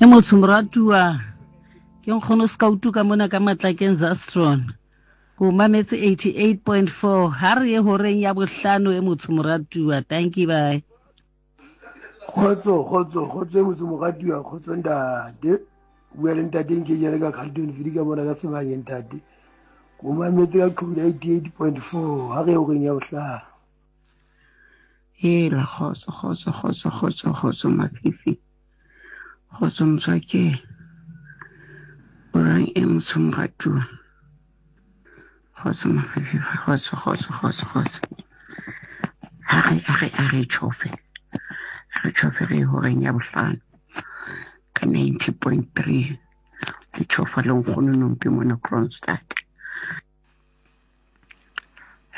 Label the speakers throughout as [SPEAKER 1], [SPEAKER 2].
[SPEAKER 1] E motsho moratuwa ke nkgono skautu ka mona ka matlakeng Zastron ko mametse 88.4 ha re ye horeng ya bohlano e motsho moratuwa thank you bye.
[SPEAKER 2] Kgotso kgotso kgotso e motse moratuwa kgotso ntate bua le ntate nke jale ka Carlton Vili ka mona ka sebanye ntate ko mametse ka qhubu 88.4 ha re ye horeng ya bohlano.
[SPEAKER 3] Hela kgotso kgotso kgotso kgotso kgotso mafifi kgotso motswake o rang e motsho moratuwa kgotso mafifi kgotso kgotso kgotso kgotso a re a re a re tšhofe a re tšhofe re horeng ya bohlano ka 90.3 le tšhofa le nkgono nompe mona Kroonstad.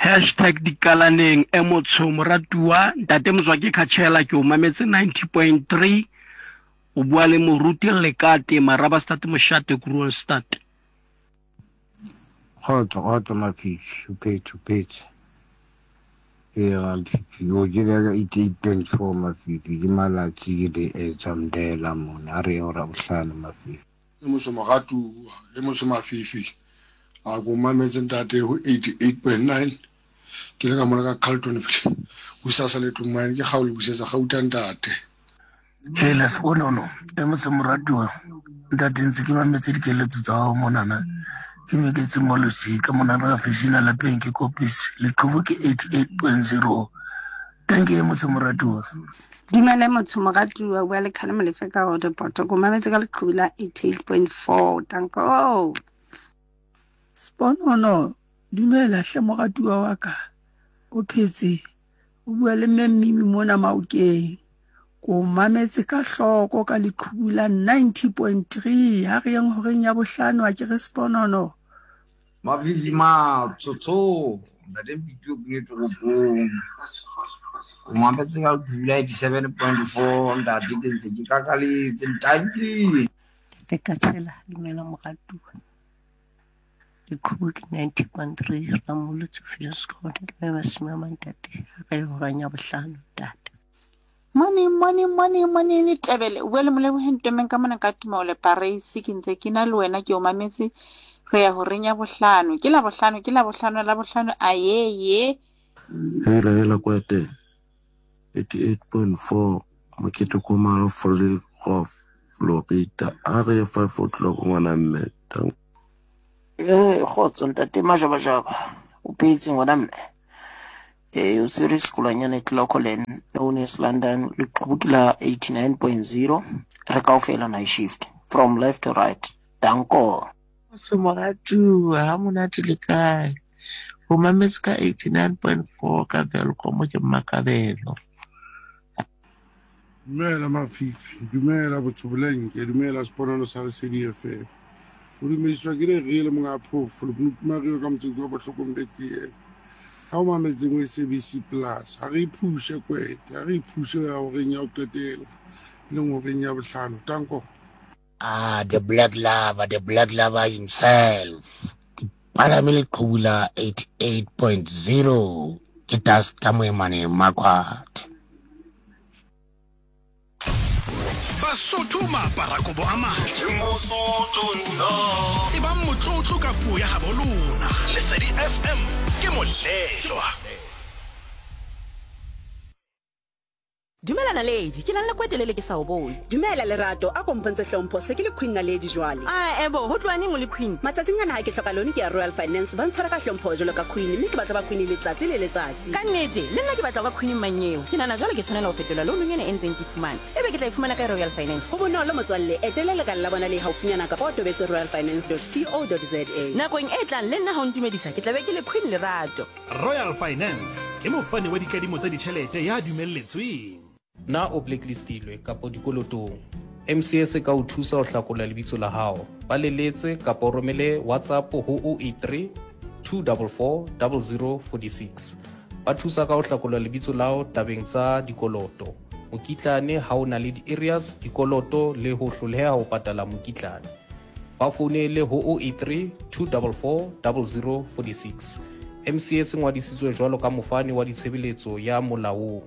[SPEAKER 4] Hashtag dikalaneng e motsho moratuwa ntate Motswake Khatshela ke o mametse 90.3 o bua le moruti Lekate Marabastad Moshate Kroonstad.
[SPEAKER 5] Kgotso kgotso Mafifi o phetse o phetse ee Mafifi o ke le ka 88.4 Mafifi ke malatsi ke le etsa mndela mona a re ye ora bohlano Mafifi.
[SPEAKER 6] E moso moratuwa, e moso mafifi. A ko mametse ntate ho 88.9. Ke le ka mona ka Carlton Bosasa le tlong mane ke kgaolo busetsa gauta ntate.
[SPEAKER 7] Hela sekonono e motse moratuwa ntate ntse ke mametse dikeletso tsa gago monana ke meketse mo losika monana ka fešena lapeng ke kopisi leqhubu ke 88.0 Thank you motho moratuwa.
[SPEAKER 8] Dumela motho moratuwa bua le Khale Molefe ka Roodepoort. Ko mametse ka leqhubu la 88.4. Danko.
[SPEAKER 9] Sponono, dumela hle moratuwa wa ka. O phetse? O bua le mme Mmimi mona Maokeng. Ko mametse ka hloko ka leqhubu la 90.3 ha re yeng horeng ya bohlano a ke re Sponono.
[SPEAKER 10] Mavivi matsotso ntate Mpiti o kene toropong o mametse ka dula 87.4 ntate ke ntse ke kakaletse ntanki.
[SPEAKER 11] Ntate Katshela dumela moratuwa leqhubu ke 90.3 Ramolotso Viljoenskroon ke mme Masimama ntate a ka e horang ya bohlano ntate.
[SPEAKER 12] Morning, morning, morning, morning, Tebele. O bua le Moleboheng Ntomeng ka mona ka Tumaole Pareisi. Ke ntse ke na le wena ke o mametse re ya horeng ya bohlano. Ke la bohlano, ke la bohlano, la bohlano. Ayeye.
[SPEAKER 13] Hela hela kwete 88.4 mokete komalo Vryhof Florida a re ye 5 o'clock ngwana mme.
[SPEAKER 14] Ee, kgotso ntate Majabajaba o phetse ngwana mme ee o tshwere sekolwanyana Clocolan known as London leqhubu ke la 89.0 re kaofela night shift from left to right danko.
[SPEAKER 15] Kgotso moratuwa ha monate le kae o mametse ka 89.4 ka Welkom ke Mmakabelo.
[SPEAKER 6] Dumela Mafifi, dumela Botsobolenke, dumela Seponono sa Lesedi FM. O dumediswa ke Lerele monga phofo lekunutu Mario ka motseng wa Bohlokong Bethlehem. Ha o mametseng o SABC Plus, ha re iphushe kwete, ha re iphushe ya horeng ya ho qetela, e leng horeng ya bohlano. Tanko.
[SPEAKER 16] Ah, the black lover, the black lover himself. Ke palame leqhubu la 88.0 ke dust ka moemane Marquardt.
[SPEAKER 17] Basotho maaparakobo a matle. E bang motlotlo ka puo ya habo lona. Lesedi FM ke molelwa.
[SPEAKER 18] Dumela Naledi, ke nang le kwete lele ke sa o bone.
[SPEAKER 19] Dumela Lerato, a ko mpontshe hlompho, se ke le Queen Naledi jwale.
[SPEAKER 18] Ae bo, ho tloha neng o le Queen?
[SPEAKER 19] Matsatsing ana ha ke hloka loan ke ya Royal Finance, ba ntshwara ka hlompho jwalo ka Queen mme ke batla ho ba Queen letsatsi le letsatsi.
[SPEAKER 18] Ka nnete, le nna ke batla ho ba Queen mmanyeo. Ke nahana jwale ke tshwanela ho fetola loan ena e ntseng ke e fumana, ebe ke tla e fumana kae Royal Finance?
[SPEAKER 19] Ho bonolo motswalle, etela lekala la bona le haufinyana kapa o tobetse royalfinance.co.za.
[SPEAKER 18] Nakong e tlang le nna ha o ntumedisa ke tla be ke le Queen Lerato.
[SPEAKER 17] Royal Finance ke mofani wa dikadimo tsa ditjhelete ya dumelletsweng.
[SPEAKER 20] Na o blacklistilwe kapa dikolotong? MCS e ka o thusa ho hlakola lebitso la hao. Ba leletse kapa o romele WhatsApp ho 083 244 0046. Ba thusa ka ho hlakola lebitso la hao tabeng tsa dikoloto, mokitlane ha o na le di-areas, dikoloto le ho hloleha ho patala mokitlane. Ba founele ho 083 244 0046. MCS e ngwadisitswe jwalo ka mofani wa ditshebeletso ya molaong.